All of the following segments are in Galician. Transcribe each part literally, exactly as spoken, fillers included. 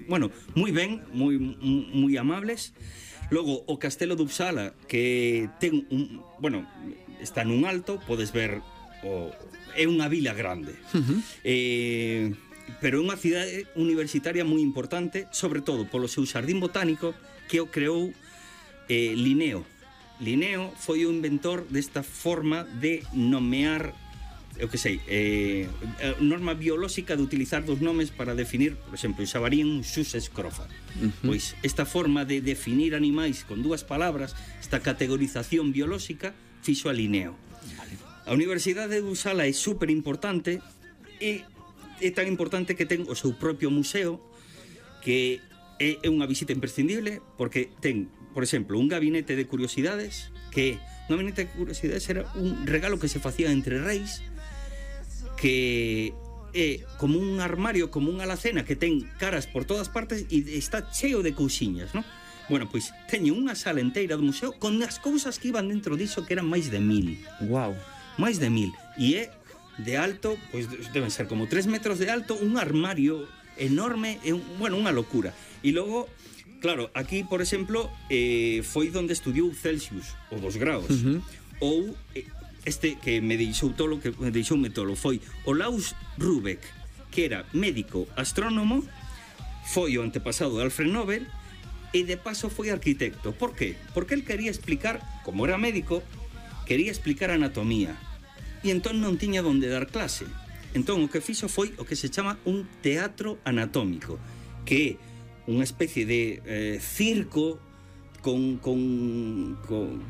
bueno, moi ben, moi, moi amables. Logo, o Castelo de Uppsala, que ten un, bueno, está nun alto, podes ver o, é unha vila grande. Uh-huh. Eh, pero é unha cidade universitaria moi importante, sobre todo polo seu xardín botánico, que o creou eh, Linneo. Linneo foi o inventor desta forma de nomear, eu que sei, eh, norma biolóxica de utilizar dos nomes para definir, por exemplo, o xabarín, xus escrofa. Uh-huh. Pois esta forma de definir animais con dúas palabras, esta categorización biolóxica, fixo a Linneo. Vale. A Universidade de Uppsala é super importante e é tan importante que ten o seu propio museo, que é unha visita imprescindible, porque ten, por exemplo, un gabinete de curiosidades, que un gabinete de curiosidades era un regalo que se facía entre reis, que é como un armario, como unha alacena que ten caras por todas partes e está cheo de cousiñas, non? Bueno, pois teño unha sala enteira do museo con as cousas que iban dentro diso, que eran máis de mil. Wow. Máis de mil. E é de alto, pois deben ser como tres metros de alto, un armario enorme, é un, bueno, unha locura. E logo, claro, aquí, por exemplo, eh, foi onde estudiou Celsius, o dos graus. Uh-huh. Ou eh, este que me deixou tolo, que me deixoume tolo, foi Olaus Rubek, que era médico astrónomo, foi o antepasado de Alfred Nobel, e de paso foi arquitecto. Por qué? Porque el quería explicar, como era médico, quería explicar anatomía, e entón non tiña donde dar clase. Entón o que fixo foi o que se chama un teatro anatómico, que é unha especie de eh, circo con, con, con...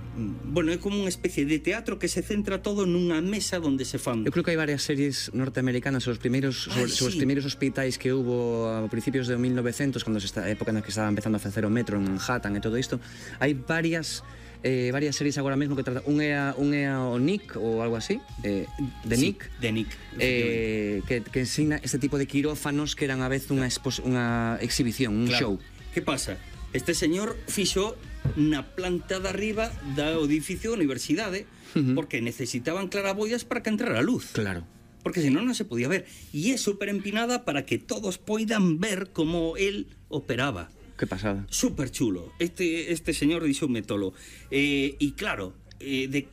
Bueno, é como unha especie de teatro que se centra todo nunha mesa donde se fan... Eu creo que hai varias series norteamericanas sobre os primeiros, sobre, Ay, sobre sí. os primeiros hospitais que hubo a principios de mil novecientos, cando se está, a época na que estaba empezando a facer o metro en Manhattan e todo isto. Hai varias... Eh, varias series agora mesmo que trata, un é a, un é a o Nick ou algo así, eh, de sí, Nick, de Nick eh, que, que ensina este tipo de quirófanos que eran a vez unha, expos, unha exhibición, un claro. show. Que pasa? Este señor fixo na planta de arriba do edificio da universidade, uh-huh. porque necesitaban claraboias para que entrara a luz. Claro. Porque senón non se podía ver. E é super empinada para que todos poidan ver como él operaba. Que pasada. Súper chulo. Este, este señor dixoume tolo. Eh, e claro, eh, de,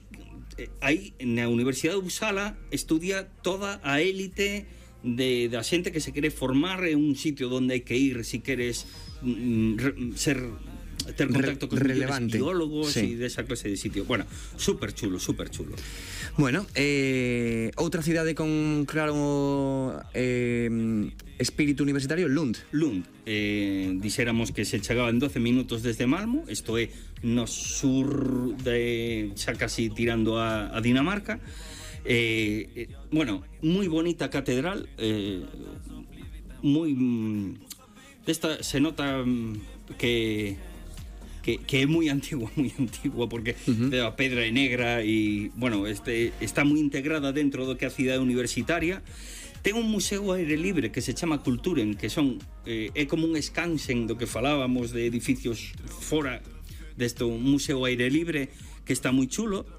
eh, aí na Universidade de Uppsala estudia toda a élite de, da xente que se quere formar en un sitio onde hai que ir se queres mm, re, ser ter contacto con relevante biólogos sí. e desa clase de sitio. Bueno, super chulo, super chulo. Bueno, eh, outra cidade con claro eh, espírito universitario, Lund. Lund, eh, dixéramos que se chegaba en doce minutos desde Malmo, isto é no sur de xa casi tirando a, a Dinamarca. Eh, eh, bueno, moi bonita catedral, eh, moi desta se nota que Que, que é moi antigua, moi antigua, porque uh-huh. a pedra é negra e, bueno, este, está moi integrada dentro do que é a cidade universitaria. Ten un museo aire libre que se chama Kulturen, que son eh, é como un Skansen do que falábamos de edificios fora deste museo aire libre, que está moi chulo.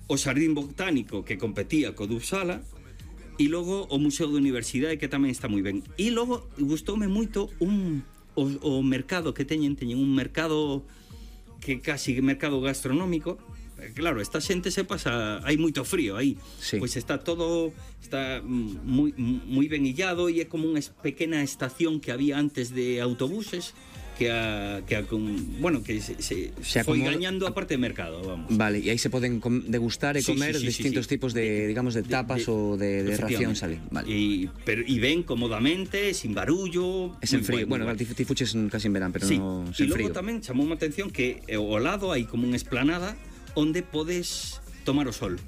O xardín botánico que competía co de Uppsala, e logo o museo de universidade que tamén está moi ben. E logo gustoume moito un o, o mercado que teñen, teñen un mercado que casi mercado gastronómico. Claro, esta xente se pasa, hai moito frío aí, sí. Pois está todo está moi moi ben illado e é como unha pequena estación que había antes de autobuses que a, que a bueno, que se, se, se foi gañando a parte de mercado, vamos. Vale, e aí se poden degustar e comer sí, sí, sí, distintos sí, sí. tipos de, digamos, de tapas de, de, ou de, de racións ali. Vale. E pero e ven cómodamente, sin barullo, es en frío. Bueno, ti bueno. fuches casi en verán, pero sí. no sen frío. E logo tamén chamou a atención que ao lado hai como unha esplanada onde podes tomar o sol.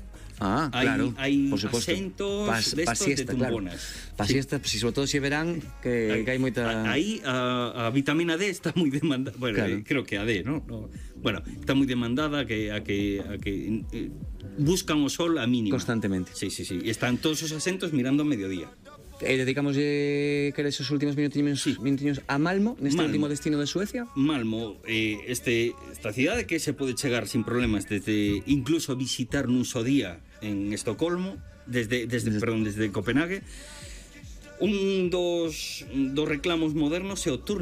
Ah, hay, claro, hay por supuesto. asentos pa, de estos siesta, de tumbonas. Claro. Pa siesta, sí. Si sobre todo se si verán que, hay, que hai moita... Aí a, a vitamina D está moi demandada. Bueno, claro. eh, creo que a D, ¿no? no bueno, está moi demandada que, a que, a que eh, buscan o sol a mínima. Constantemente. Sí, sí, sí. E están todos os asentos mirando a mediodía. E dedicamos eh, que esos últimos minutiños, sí. minutiños a Malmo, neste Malmo. último destino de Suecia. Malmo, eh, este, esta cidade que se pode chegar sin problemas desde incluso visitar nun só día en Estocolmo, desde, desde, desde, perdón, desde Copenhague. Un dos, dos reclamos modernos é o turno